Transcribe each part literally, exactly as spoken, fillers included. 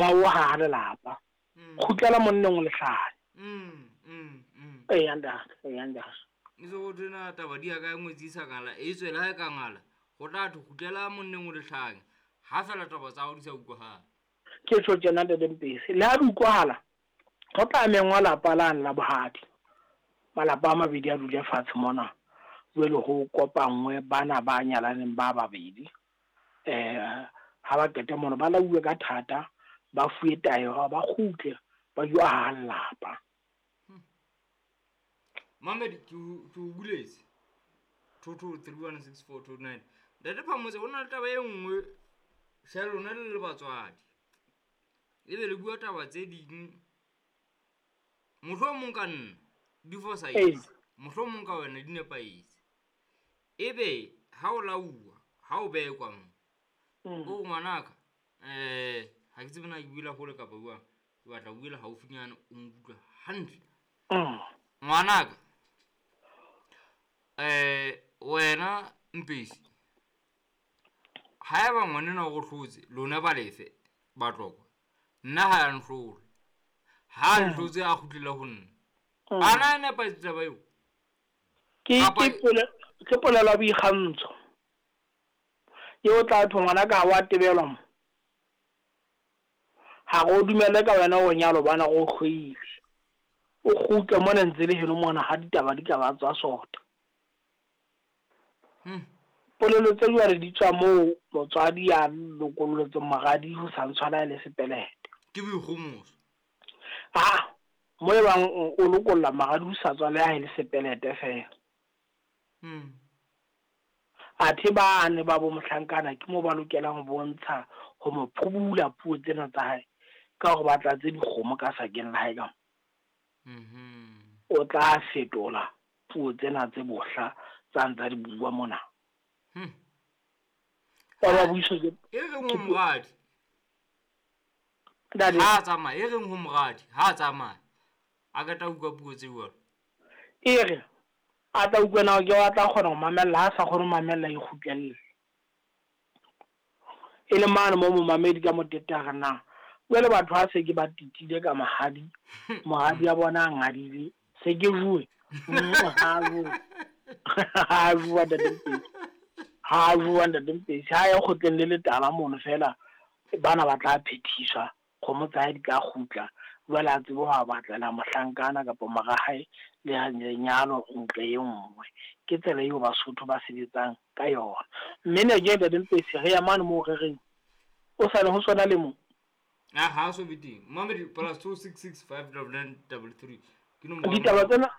Wa o haha lelapa. Kgutlela monneng o lehlanya. Mm, mm, mm. Eya ntate, eya ntate. E se go thwena taba di ya ka ngwetsi e sa ngala, e tswela ha e ka ngala, go tla thwe kgutlela monneng o lehlanya. Ha fela taba tsa hao di sa utlwahala. Ke tjho tjena ntate Mpesi, le ha di utlwahala, go tla mengwa lapa lane la bohadi. Malapa a mabedi a dule fatshe mona, jwale ho kopangwe bana ba nyalaneng ba babedi. Eh ha ba qeta mono ba lauwe ka thata, ba fuwe taelo hore ba kgutle ba yo aha lelapa. Mamedi ke o ke o buletse two two three one six four two nine. Ntate Phamotse ho na le taba e nngwe hle lona le le batswadi. Ebe le bua taba tse ding mohlomong ka nna di fosahetse, mohlomong ka wena di nepahetse. Ebe ha o lauwa, ha o bekwa mo, o ngwanaka eh ha ke tsebe na ke buela hole kapa jwang, ke batla ho buela haufinyana o nkutlwe hantle. Ngwanaka eh wena Mpesi, haeba ngwanenwa o go hlotse lona ba lefe Batlokwa, nna ha ya nhlola. Ha nhlotse a kgutlela ho nna. A na e nepahetse taba eo? Ke ke pole ke polelo ya boikgantsho. Eo tla thwe ngwanaka ha wa tebelwa mo. Ha re o dumelle ka wena o nyalo bana go hloile. O kgutle mona ntse le heno mona ha ditaba di ka ba tswa sota. Hmm. Polelo tse jwale di tswa moo motswadi ya lokolletseng moradi ho sa ntshwana le sepelete. Ke boikgomoso. Ah, mo e bang o lokolla moradi ho sa tswa le ha e le sepelete fela. Hmm. Athe bane ba bo mohlankana ke mo ba lokelang ho bontsha ho mo phubula puo tsena tsa hae ka hore ba tlatse dikgomo ka sakeng la hae ka. Mhm. O tla fetola puo tsena tse bohla tsa ntsa di bua mona. Hmm. Ba ba buiswa ke E reng ho moradi? Ntate. Ha tsamaya, e reng ho moradi, ha tsamaya. A ka tla utlwa puo tse jwalo. E re a tla utlwa na ke wa tla kgona ho mamella, ha sa kgone ho mamella e kgutlelle. E le mane mo momamedi ka motete a re na jwale batho ha se ke ba titile ka mahadi, mahadi a bona a ngadile, se ke bue. Ha bue. Ha bua ntate Mpesi. Ha bua ntate Mpesi. Ha ya kgotleng le letala mono fela bana ba tla phethiswa, kgomo tsa hae di tla kgutla. Jwale a tsebe ho a batlela mohlankana kapa mora hae le lenyalo ntle e nngwe. Ke tsela eo Basotho ba sebetsang ka yona. Mme ne ke ntate Mpesi re ya mane moo re reng o sale ho sona le mo. Ah, ha so be teng. Mamedi plus two six six five double nine double three. Ke nomoro. Ditaba tsena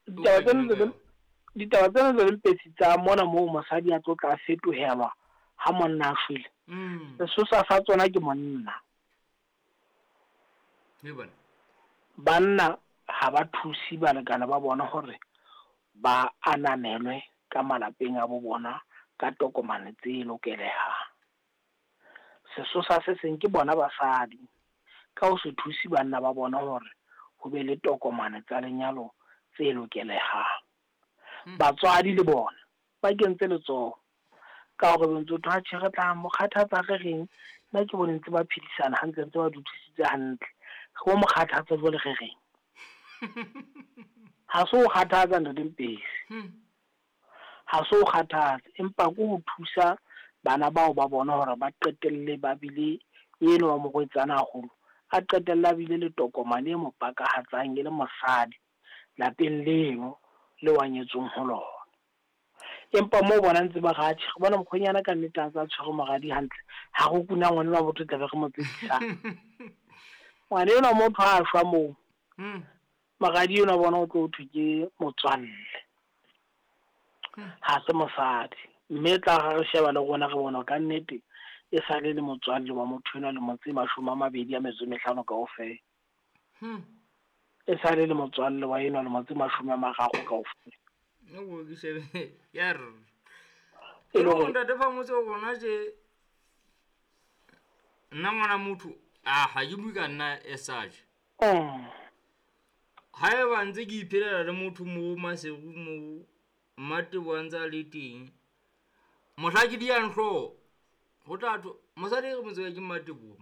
ditaba tsena tse ditaba tsena tse Mpesi tsa mona moo mosadi a tlo tla fetohelwa ha monna a shwele. Mm. Sesosa sa tsona ke monna. Le bona. Banna ha ba thuse balekane ba bona hore ba ananelwe ka malapeng a bo bona ka tokomane tse lokelehang. Sesosa se seng ke bona basadi ka ho se thuse banna ba bona hore ho be le tokomane tsa lenyalo tse lokelehang. Batswadi le bona ba kentse letsoho ka hore ntse tho atjhe re tla mo kgathatsa re reng, nna ke bone ntse ba phedisana hantle ntse ba dudisitse hantle. Re bo mo kgathatsa jwale re reng. Ha se ho kgathatsa ntate Mpesi. Ha se ho kgathatsa empa ke ho thusa bana bao ba bona hore ba qetelle ba bile eno wa morwetsana haholo a qetella a bile le tokomane e mo pakahatsang e le mosadi lapeng leno le wa nyetsweng ho lona. Empa mo bona ntse ba re atjhe re bona mokgwenyana ka nnete a ntse a tshwere moradi hantle, ha re kuna ngwana wa motho tla be re mo tsekisa. Ngwana enwa motho ha a shwa moo, moradi enwa bona o tlo thwe ke motswalle, ha se mosadi. Mme tla re re sheba le rona re bona ka nnete e sale le motswalle wa motho enwa lemo tse mashome a mabedi a metso e mehlano kaofela. E sale le motswalle wa enwa lemo tse mashome a mararo kaofela. No ke shebe ya re. E E le hore ntate Phamotse rona tje nna ngwana motho a ha ke bue ka nna as such. Mm. Haeba ntse ke iphelela le motho mo Maseru mo Mmatebo a ntse a le teng, mohla ke di yang hlooho ho tla thwe mosadi e re mo tseba ke Mmatebo.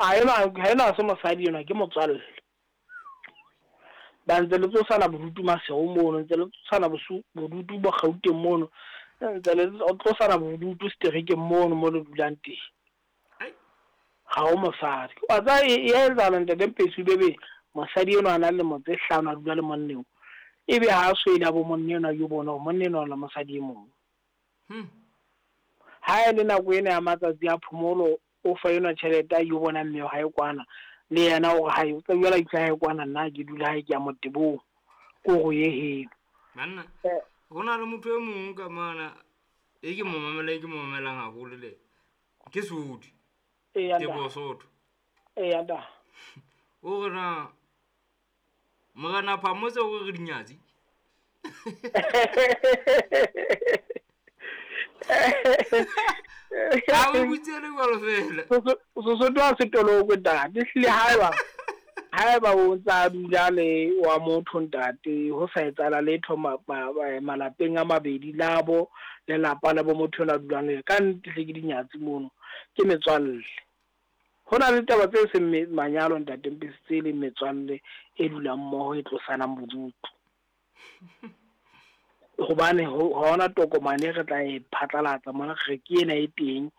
A ena ha ena se mosadi ena ke motswalle. Ba ntse le tsosana bodutu Maseru mono, ntse le tsosana bodutu bo Gauteng mono, ntse le tlosana bodutu seterekeng mono mo le dulang teng. Ha o mosadi. Wa tseba e etsahala ntate Mpetsi bebe mosadi enwa a na le lemo tse hlano a dula le monna eo. Ebe ha a so ile a bo monna enwa yo bona hore monna enwa o na le mosadi e mong. Ha e le nako ena ya matsatsi a phomolo o fa enwa tjhelete a yo bona mme wa hae kwana le yena o re hae o tla jwala itse hae kwana nna ke dula hae ke ya motebong ko go ye heno. Banna ho na le motho e mong ka mana e ke mo mamela e ke mo mamelang haholo le ke Sodi. Tebo Sotho. Eya nda. O re na morena Phamotse o re dinyatsi. A o butse le jwalo fela. Sesotho ha se tolokwe ntate, ehlile haeba haeba o ntsa dula le wa motho ntate ho sa etsahala letho malapeng a mabedi labo lelapa la bo motho la dulang le ka nnete hle ke dinyatsi mono ke metswalle. Ho na le taba tse seng manyalo ntate Mpetsi tse leng metswalle e dulang mmoho e tlosanang bodutu. Hobane ha hona tokomane re tla e phatlalatsa mona re ke ena e teng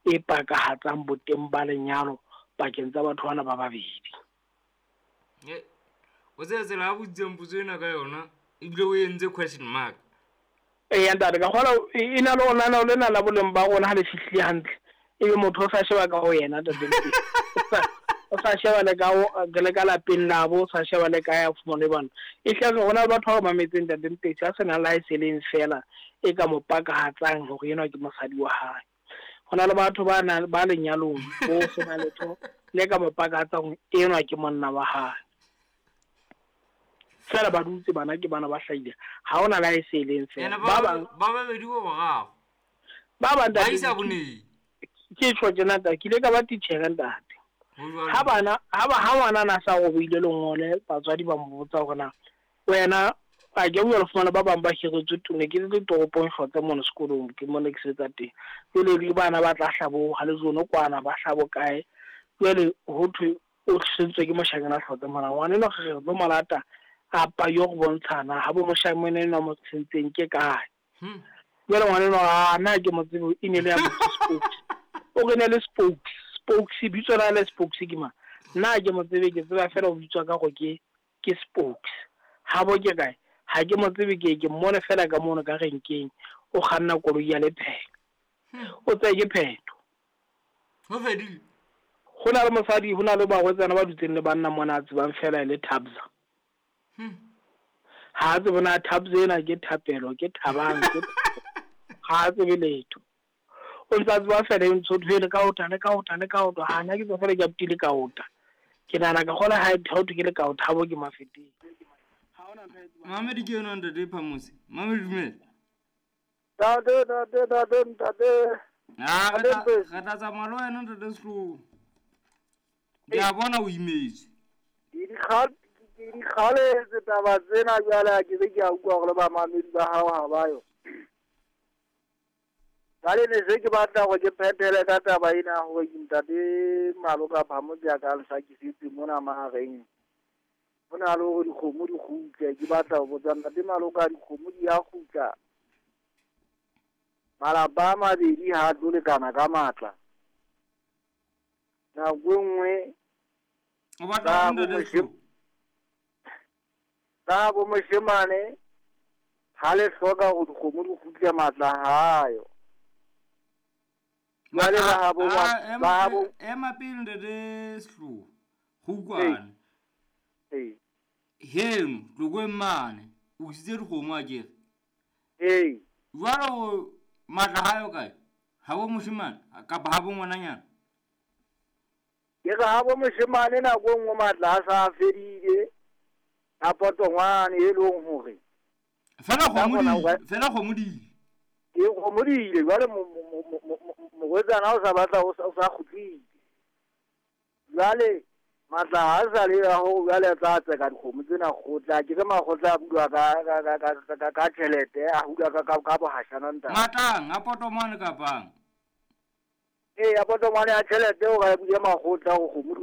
e pakahatsang boteng ba lenyalo pakeng tsa batho bana ba babedi. E o tsela tsela a botseng potso ena ka yona ebile o entse question mark. Eya ntate ka kgola e na le ona lena la boleng ba rona ha le fihlile hantle ebe motho o sa sheba ka ho yena ntate Mpetsi. O sa sheba le ka le ka lapeng labo, o sa sheba le ka ya fumane bana. E hle re hona batho ba mametseng ntate Mpetsi a sena la e seleng fela e ka mo pakahatsang hore enwa ke mosadi wa hae. Hona le batho ba na ba lenyalong bo sena letho le ka mo pakahatsang enwa ke monna wa hae. Fela ba dutse bana ke bana ba hlahile. Ha hona la e seleng fela. Ba bang ba babedi ba bararo. Ba bang ba isa boneng. Ke tjho tjena ntate, ke ile ka ba titjhere ntate. Ha bana ha ba ha ngwana na sa robeile lengole batswadi ba mo botsa hore na wena a ke bua le fumana ba bang ba hiretswe tone ke le toropong hlotse mona sekolong ke mona ke sebetsa teng. Jwale le bana ba tla hlabo ha le zone kwana ba hlabo kae. Jwale ho thwe o tlisitswe ke moshanyana hlotse mona ngwana eno re re tlo malata apa yo go bontshana ha bo moshanyana eno mo tsentseng ke kae. Jwale ngwana eno a na ke mo tsebe e ne le ya spokes. O re ne le spokes. Spokes bitso la le spokes ke ma nna ke mo tsebe ke tseba fela o bitswa ka go ke ke spokes ha bo ke kae ha ke mo tsebe ke ke mmone fela ka mono ka renkeng o kganna koloi ya lepheko o tseye ke phetho ho fedile. Ho na le mosadi ho na le barwetsana ba dutseng le banna mona a tsebang fela le Thabza. Ha a tsebe na Thabza ena ke thapelo ke thabang ke ha a tsebe letho. O ntsa tseba fela e ntho le ka ota le ka ota le ka ota ha na ke tswa fela ke aptile ka ota. Ke nahana ka kgola ha ho thwe ke le ka ota ha bo ke mafeteng. Ha hona ntho e tsebang. Mamedi ke yona ntate Phamotse. Mamedi dumela. Ntate ntate ntate ntate. Ah re tla tsamaya le wena ntate Sehloho. Ke a bona o imetswe. Ke di ke di kgaletse taba tsena jwale ke be ke a utlwa hore le bamamedi ba hao ha ba yo. Jwale ne se ke batla hore ke phethele ka taba ena hore ntate Maloka Phamotse a ka nhlakisetse mona mahareng. Ho na le hore dikgomo di kgutle, ke batla ho botsa ntate Maloka dikgomo di ya kgutla. Malapa a mabedi ha a tlo lekana ka matla. Nako e nngwe o batla ntate Sehloho. Ka bo moshemane ha le hloka hore dikgomo di kgutle matla hayo. Jwale ba habo ba habo ema pele ntate Sehloho. Go utlwane. Ee. Heno Tlokweng mane o isitse dikgomo akere. Ee. Jwale matla hayo kae? Ha bo moshemane kapa ha bo ngwananyana? Ke re ha bo moshemane nako e nngwe matla a sa fedile. A potongwane e leng hore fela kgomo di fela kgomo di ke kgomo di ile jwale morwetsana o sa batla o sa kgutlile. Jwale matla ha sa le ya ho jwale a tla tseka dikgomo tsena kgotla ke re makgotla a bulwa ka ka ka ka ka tjhelete a hulwa ka ka ka bohashana ntate. Matlang a potomane kapang. Ee, ya potomane ya tjhelete o ka ya makgotla go kgomo di